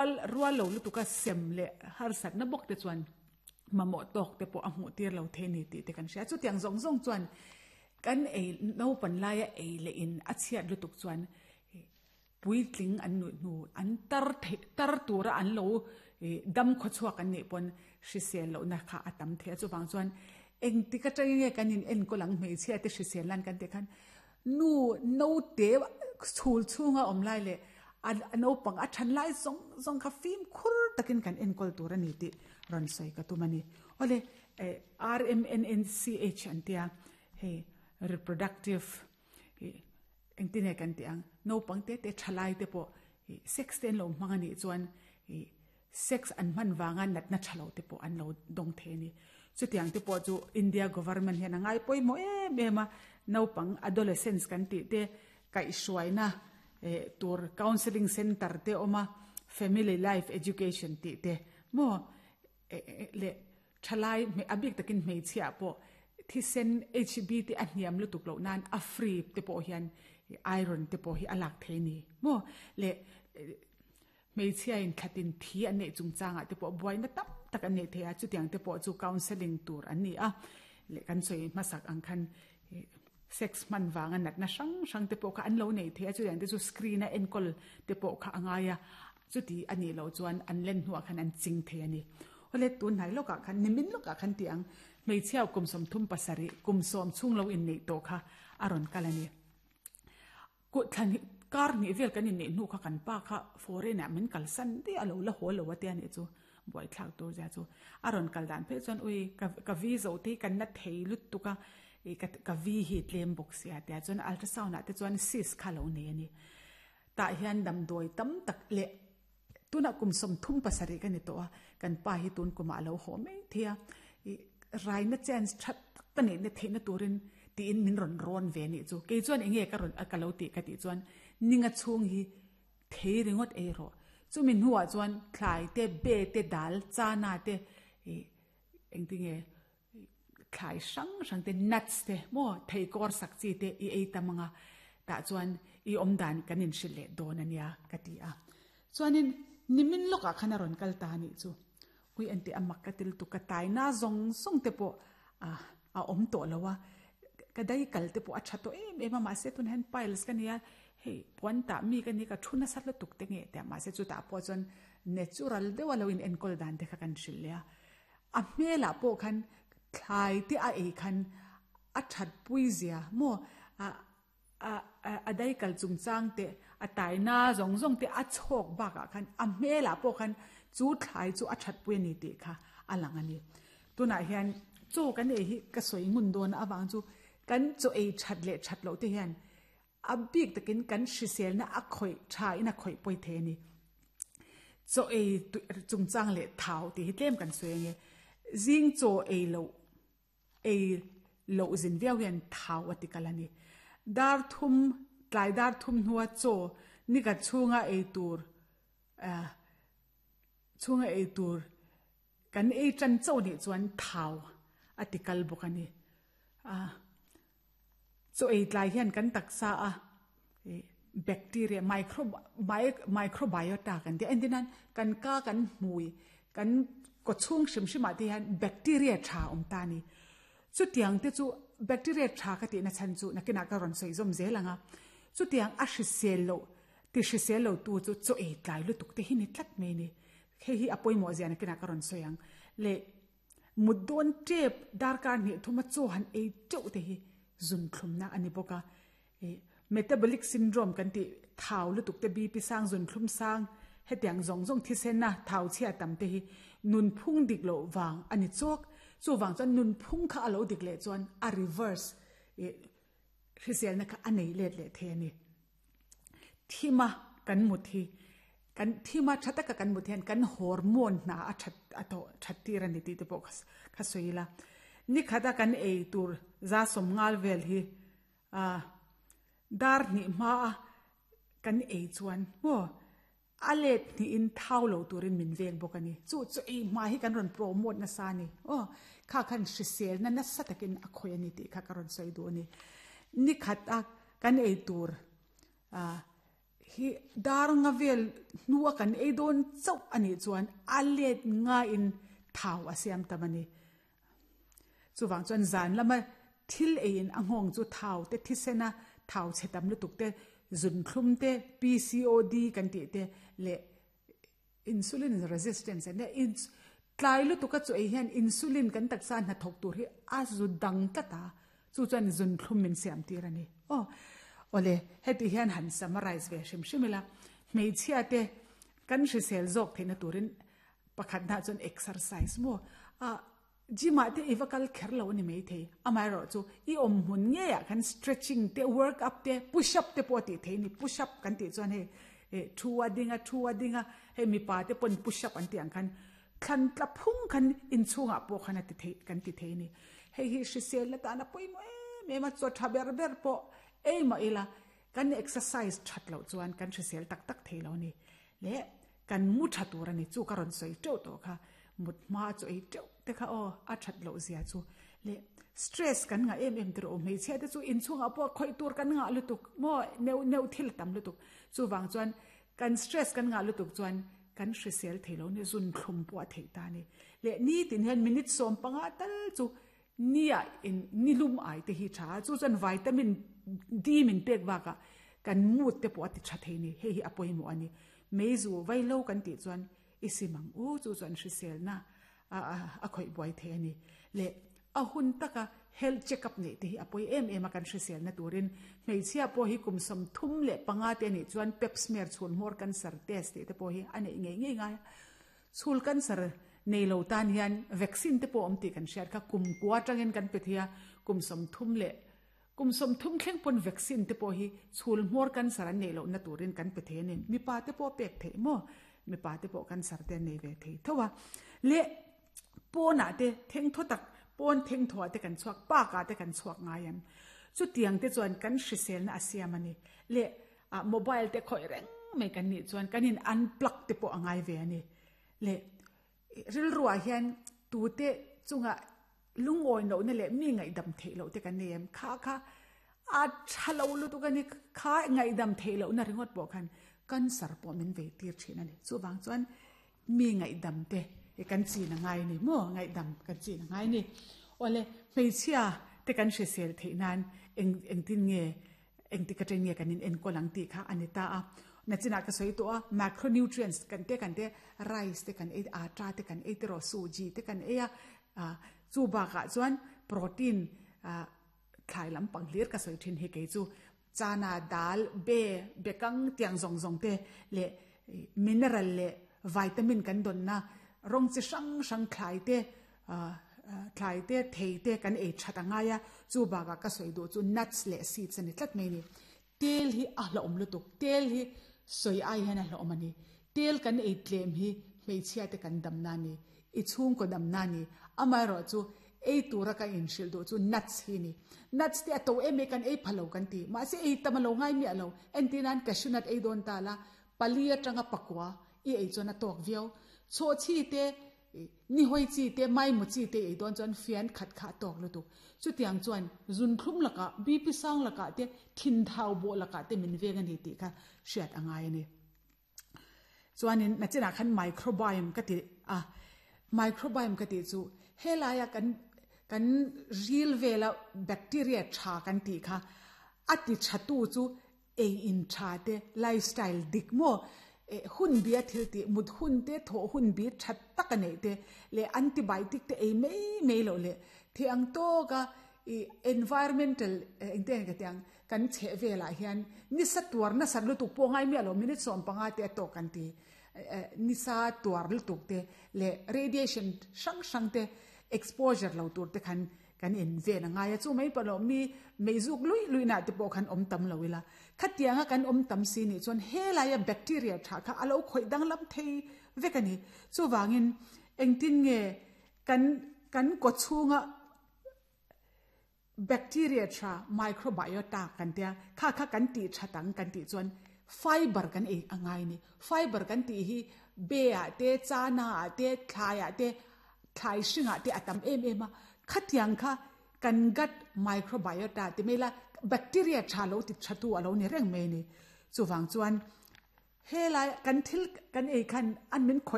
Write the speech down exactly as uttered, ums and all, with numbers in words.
Rual lo lutuka sem leh harsatna bawk te chuan mamawh tawk te pawh a hmuh tir lo thei a ni tih te kan hria. Chutiang zawng zawng chuan kan ei naupan laia ei leh in a chhiat lutuk chuan puitling an nuih hnu an tar theih tar tura an lo dam khawchhuak an nih pawn hrisel lohna kha a tam thei a. Chuvang chuan engtik atangin nge kan in enkawl ang hmeichhia te hrisel nan kan tih khan nu naute chhul chhunga awm lai leh A naupang a than lai zawng zawng kha fimkhur takin kan enkawl tur a ni tih rawn sawi ka tum a ni. Awle, R M N N C H an tia, hei reproductive engtin nge kan tih ang, naupang te te thalai te pawh sex te an lo hmang a nih chuan sex an hman vanga natna tha lo te pawh an lo dawng thei a ni. Chutiang te pawh chu India government hian a ngai pawimawh em em a, naupang adolescents kan tih te kaihhruaina tur counselling centre te awm a, family life education tih te maw leh thalai a bik takin hmeichhia pawh thisen H B te a hniam lutuk loh nan a free te pawh hian iron te pawh hi a lak thei a ni maw leh hmeichhia in thlatin thi an neih chungchangah te pawh buaina tam tak an neih thei a, chutiang te pawh chu counselling tur an ni a leh kan sawi hmasak ang khan sex hman vanga natna hrang hrang te pawh kha an lo nei thei a, chutiang te chu screen a enkawl te pawh kha a ngai a, chuti a nih loh chuan an len hnuah khan an ching thei a ni. Awle, tun hnai lawkah khan, nimin lawkah khan tih ang, hmeichhia kum sawmthum pasarih kum sawm chhung lo inneih tawh kha a rawn kal a ni. Kuthlan hi kar hnih vel kan inneih hnu kha kan pa kha foreign ah min kalsan daih a, lo la haw lo a tia nih chu buaithlak tur zia chu a rawn kal dan phei chuan ui ka ka vi zo te hi kan na thei lutuk a, ih ka ka vi hi tlem bawk sia tia chuan ultrasound ah te chuan cyst kha lo nei a ni. Tah hian damdawi tam tak leh tunah kum sawmthum pasarih ka ni tawh a, kan pa hi tun kumah a lo haw mai thei a, ih raina chance that tak ka neihna theihna turin tiin min rawn rawn ve nih chu. Kei chuan eng nge ka rawn ka lo tih ka tih chuan ninga chhung hi thei ringawt ei rawh. Chumi hnuah chuan thlai te, be te, dal, chana te, ih engtinge thlai hrang hrang te, nuts te maw thei kawr sak chi te i ei tam anga tah chuan i awm dan kan inhrilh leh dawn a nia ka ti a. Chuanin nimin lawkah khan a rawn kal ta nih chu. Ui engtih a mak ka ti lutuk ka taina zawng zawng te pawh a a awm tawh lo a, ka dai kal te pawh a tha tawh em em a, mahse tunah hian piles ka nia hei puan tah mi ka ni ka thu nasa lutuk te nge tia mahse chutah pawh chuan natural deuh a lo in enkawl dan te kha kan hrilh leh a. A hmelah pawh khan thlai te a ei khan a that pui zia maw a a a dai kal chungchang te a taina zawng zawng te a chhawk bakah khan a hmelah pawh khan chu thlai chu a that pui a ni tih kha a lang a ni. Tunah hian chaw kan ei hi ka sawi ngun dawn avang chu kan chaw ei that leh that loh te hian a bik takin kan hriselna a khawih tha in a khawih pawi thei a ni. Chaw ei chungchang leh thau tih hi tlem kan sawi ange. Zing chaw ei loh ei loh zin viau hian thau a ti kal a ni. Dar thum tlai dar thum hnua chaw nikhat chhunga ei tur ah chhunga ei tur kan ei tan chauh nih chuan thau a ti kal bawk a ni. Ah chaw ei tlai hian kan taksa a bacteria micro microbiota kan tih a entir nan kan ka kan hmui kan kaw chhung hrim hrim ah te hian bacteria tha awm ta a ni. Chutiang te chu bacteria tha ka tihna chhan chu nakinah ka rawn sawi zawm zel ang a, chutiang a hrisel loh ti hrisel lo tu chu chaw ei tlai lutuk te hi ni tlat mai a ni. Hei hi a pawimawh zia nakinah ka rawn sawi ang. Leh mut dawn tep darkar hnih thuma chaw han ei teuh te hi zun thlumna a ni bawk a. Metabolic syndrome kan tih thau lutuk te B P sang zun thlum sang hetiang zawng zawng thisen a thau chhia tam te hi nunphung dik loh vang a ni chawk. Chuvang chuan nunphung kha a lo dik leh chuan a reverse hriselna kha a nei let leh thei a ni. Thima kan mut hi kan thima tha taka kan mut hian kan hormone hna a that a tawh that tir a ni tih te pawh kha sawi ila. Nikhata kan ei tur za sawm ngal vel hi ah dar hnih hma a kan ei chuan maw a let hnihin thau lo turin min veng bawk a ni. Chu chu ei hma hi kan rawn promote nasa a ni. Aw kha khan hriselna nasa takin a khawih a ni tih kha ka rawn sawi duh a ni. Nikhat a kan ei tur ah Hi dar nga vel nuwa kan ei don chau ani chuan a let nga in thau a siam tamani. Chuwang chuan zan lama thil ei in a nghong chu thau te thisena thau chetam lutuk te zun thlum te P C O D kan ti te le insulin resistance ne in tlai lutuk a chu ei hian insulin kan taksa na thok tur hi a zu dang tata chu chuan zun thlum min siam tir ani. Oh ole heti hian han summarize ve hrim hrimila hmeichhia te kan hrisel zawk theihna turin pakhat na chuan exercise mo a gym ah te iwa kal kher lo ani mai thei amai ro chu i om hun nge ya kan stretching te work up te push up te pawh ti thei ni push up kan ti chuan he thuwa dinga thuwa dinga he mi pa te pon push up an ti ang khan thlan tla phung khan in chunga pawh khan ati thei kan ti thei ni. Hei hi hrisel na ta na pawimawh em em a chaw tha ber ber pawh ei ma ila kan exercise that lo chuan kan hrisel tak tak thei lo ni. Le kan mu tha tur ani chu ka rawn sawi teuh tawh kha mut hma chu ei teuh te kha aw a that lo zia chu le stress kan nga em em tiro hmeichhia te chu inchhungah pawh khawih tur kan nga lutuk maw neu neu thil tam lutuk chu wang chuan kan stress kan nga lutuk chuan kan hrisel thei lo ni zun thlum pawh a theih ta ni. Le ni tin hian minute sawm panga tal chu nia in nilum ai te hi tha chu chuan vitamin D min pek waka kan mood te pawh a ti tha thei ni. Hei hi a pawimawh ani. Meizu vailo kan ti chuan isimang u chu chuan hrisel na a a khawih buai thei ani. Le a hun taka health check up nei te hi a pawi em em a kan hrisel na turin hmeichhia pawh hi kum sawm thum leh panga te ani chuan pap smear chhul hmawr cancer test te te pawh hi a nei ngei ngei ngai. Chhul cancer nei lo tan hian vaccine te pawh awm tih kan hriat kha kum kua tangin kan pe thei a kum sawm thum leh kum sawm thum thleng pawn vaccine te pawh hi chhul hmawr cancer an nei lo na turin kan pe thei ani. Mipa te pawh pek thei maw mipa te pawh cancer te an nei ve thei tho a. Le pawnah te theng thaw tak pawn theng thaw te kan chhuak park ah te kan chhuak ngai em chu tiang te chuan kan hrisel na a siam ani. Le a mobile te khawih reng mai kan nih chuan kan in unplug te pawh a ngai ve ani. Le rilruah hian tu te chunga lungawi lo na le mi ngaihdam theih lo te kan nei em kha kha a tha lo lutuk ani kha ngaihdam theih lo na ringawt pawh khan cancer pawh min vei tir thin ani. Chu wang chuan mi ngaihdam te kan chin a ngai ni maw ngaihdam kan chin a ngai ni. Ole hmeichhia te kan hrisel theih nan eng engtin nge engti ka chen nge kan in enkawl ang tih kha ani ta a. Na chinah ka sawi tawh a macronutrients kan te kan te rice te kan ei atta te kan ei te rawh suji te kan ei a chu bakah chuan protein thlai lampang hlir ka sawi thin hi kei chu chana dal be bekang tiang zawng zawng te le mineral le vitamin kan don na rong chi hrang hrang thlai te thlai te thei te kan ei that angai a. Chu bakah ka sawi duh chu nuts le seeds ani tlat mai ni. Tel hi a hlawm lutuk tel hi sawi ai hian a hlawm ani. Tel kan ei tlem hi hmeichhia te kan dam na ni i chhung ko dam na ni. Amai ro chu ei tura ka in hril duh chu nuts hi ni. Nuts te a to em e kan ei phalo kan ti ma se ei tam lo ngai mi alo entinan cashew nut ei don ta la pali atanga pakwa i ei chuan a tawk viau. Chaw chi te ni hoi chi te mai mu chi te ei don chuan fian khat kha tawk lutuk. Chu tiang chuan zun thlum laka B P sang laka te thin thau bo laka te min veng ani ti kha hriat angai ani. Chuanin na chinah khan microbiome ka ti a microbiome ka ti chu helaya kan kan ril vela bacteria tha kan ti kha ati thatu chu ei in tha te lifestyle dik mo hun bia thil ti mut hun te tho hun bi that tak nei te le antibiotic te ei mei mei lo le thi ang to ka i environmental engte ka tiang kan che vela hian ni sa tuar na sar lutuk pawh ngai mi alo minute sawm panga te to kan ti ni sa tuar lutuk te le radiation hrang hrang te exposure lo tur te khan kan in ve na ngai a chu mai pa lo mi meizuk lui lui na te pawh khan awm tam lo ila khatianga kan awm tam si ni chuan helaia bacteria tha kha alo khawih dang lam thei vek ani. Chu wangin engtin nge kan kan ko chhunga bacteria tha microbiota kan tia kha kha kan ti thatang kan ti chuan fiber kan ei angai ni. Fiber kan ti hi be a te chana a te thlai a te thlai hringa te atam em em a khatiang kha kan gut microbiota te mela bacteria tha lo ti thatu alo ni reng mai ni. Chuwang chuan He lai kan thil kan ei khan an min khoi.